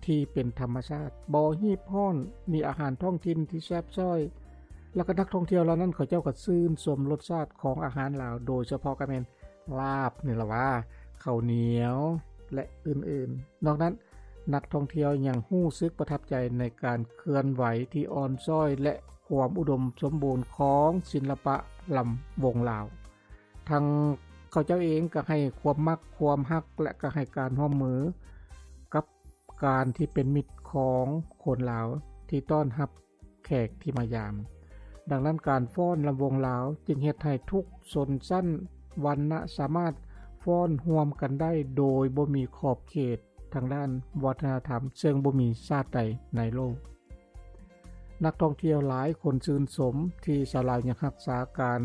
ທີ່ເປັນທຳມະຊາດ, ບໍ່ຮີບຮ້ອນ, ມີອາຫານທ້ອງຖິ່ນທີ່ແຊບຊ້ອຍ ແລ້ວກໍນັກທ່ອງທ່ຽວເຫຼົ່ານັ້ນ ເຂົາເຈົ້າກໍຊື່ນຊົມລົດຊາດຂອງອາຫານລາວ, ໂດຍສະເພາະກໍແມ່ນລາບນີ້ລະວ່າ, ເຂົ້າໜຽວ ແລະ ອື່ນໆ. ນອກນັ້ນ, ນັກທ່ອງທ່ຽວຍັງຮູ້ສຶກປະທັບໃຈໃນການເຄື່ອນໄຫວທີ່ອ່ອນຊ້ອຍ ແລະ ຄວາມອຸດົມສົມບູນຂອງສິລະປະລຳວົງລາວ. ທັງເຂົາເຈົ້າເອງກໍໃຫ້ຄວາມມັກ, ຄວາມຮັກ ແລະ ກໍໃຫ້ການຮ່ວມມືກັບການທີ່ເປັນມິດຂອງຄົນລາວທີ່ຕ້ອນຮັບແຂກທີ່ມາຢາມ. ດັ່ງນັ້ນ, ການຟ້ອນລຳວົງລາວຈຶ່ງເຮັດໃຫ້ທຸກຊົນຊັ້ນວັນນະສາມາດຟ້ອນຮ່ວມກັນໄດ້ໂດຍບໍ່ມີຂອບເຂດທາງດ້ານວັດທະນະທຳ, ເຊິ່ງບໍ່ມີຊາດໃດໃນໂລກ. ນັກທ່ອງທ່ຽວຫຼາຍຄົນຊື່ນຊົມທີ່ຊາວລາວຍັງຮັກສາການ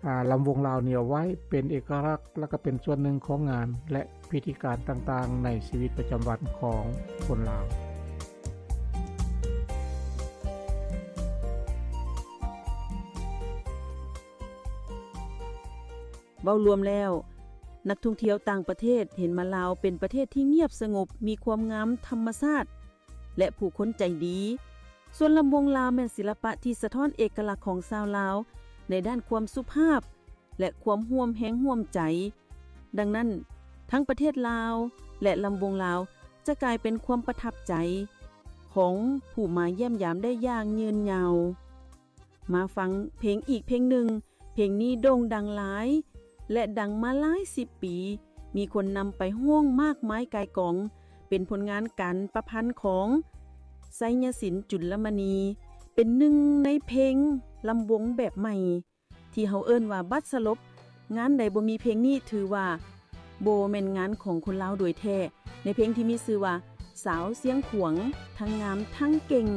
ອາ ລຳວົງລາວນີ້ເອົາໄວ້ເປັນເອກະລັກ ແລະ ກໍເປັນສ່ວນໜຶ່ງຂອງງານ ແລະ ພິທີການຕ່າງໆໃນຊີວິດປະຈຳວັນຂອງຄົນລາວ. ເວົ້າລວມແລ້ວ, ນັກທ່ອງທ່ຽວຕ່າງປະເທດເຫັນມາລາວເປັນປະເທດທີ່ງຽບສະຫງົບ, ມີຄວາມງາມທຳມະຊາດ ແລະ ຜູ້ຄົນໃຈດີ. ສ່ວນລຳວົງລາວແມ່ນສິລະປະທີ່ສະທ້ອນເອກະລັກຂອງຊາວລາວໃນດ້ານຄວາມສຸພາບ ແລະ ຄວາມຮ່ວມແຮງຮ່ວມໃຈ. ດັ່ງນັ້ນ, ທັງປະເທດລາວ ແລະ ລຳວົງລາວຈະກາຍເປັນຄວາມປະທັບໃຈຂອງຜູ້ມາຢ້ຽມຢາມໄດ້ຢ່າງຍືນຍາວ. ມາຟັງເພງອີກເພງໜຶ່ງ. ເພງນີ້ໂດ່ງດັງຫຼາຍ ແລະ ດັງມາຫຼາຍສິບປີ, ມີຄົນນຳໄປຮ້ອງມາກມາຍກ່າຍກອງ, ເປັນຜົນງານການປະພັນຂອງ ໄຊຍະສິນ ຈຸນລະມະນີ, ເປັນໜຶ່ງໃນເພງລຳວົງແບບໃໝ່ ທີ່ເຮົາເອີ້ນວ່າບັດສະຫຼົບ. ງານໃດບໍ່ມີເພງນີ້ ຖືວ່າບໍ່ແມ່ນງານຂອງຄົນລາວໂດຍແທ້, ໃນເພງທີ່ມີຊື່ວ່າ ສາວຊຽງຂວາງ ທັງງາມທັງເກັ່ງ.